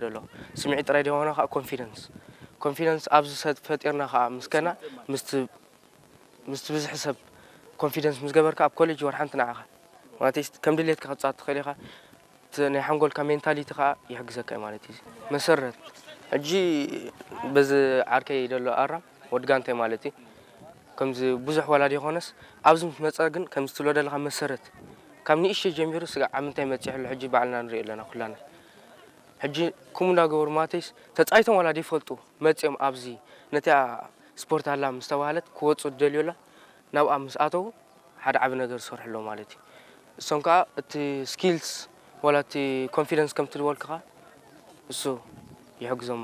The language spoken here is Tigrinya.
ዘሎ። ስምዒት ጥራይ ዘይኮነ ከዓ ኮንፊደንስ ኮንፊደንስ ኣብዚ ሰብ ፈጢርና ከዓ ምስ ከና ምስቲ ምስቲ ብዙሕ ሰብ ኮንፊደንስ ምስ ገበርካ ኣብ ኮሌጅ ወር ሓንቲ ንዓኻ ማለት እዩ ከም ድሌትካ ክትፃወት ትኽእል ኢኻ። እቲ ናይ ሓንጎልካ ሜንታሊቲ ከዓ ይሕግዘካ እዩ ማለት እዩ። መሰረት ሕጂ በዚ ዓርከይ ዘሎ ኣራም ወዲ ጋንታይ ማለት እዩ ከምዚ ብዙሕ ወላዲ ይኾነስ ኣብዚ ምስ መፀ ግን ከምዚ ትብሎ ዘለካ መሰረት ካብ ንእሽተይ ጀሚሩ ስጋዕ ኣብ ምንታይ መፂሑ ኣሎ ሕጂ ባዕልና ንሪኦ ኣለና ኩላና። ሕጂ ከምኡ እንዳገበሩ ማተይስ ተፃይቶም ዋላ ዘይፈልጡ መፂኦም ኣብዚ ነቲኣ ስፖርት ኣላ ምስ ተባህለት ክወፁ ዝደልዩ ኣላ ናብኣ ምስ ኣተዉ ሓደ ዓቢ ነገር ዝሰርሑ ኣለዉ ማለት እዩ። እሶም ከዓ እቲ ስኪልስ ዋላ እቲ ኮንፊደንስ ከምቲ ዝበልኩኻ እሱ ይሕግዞም።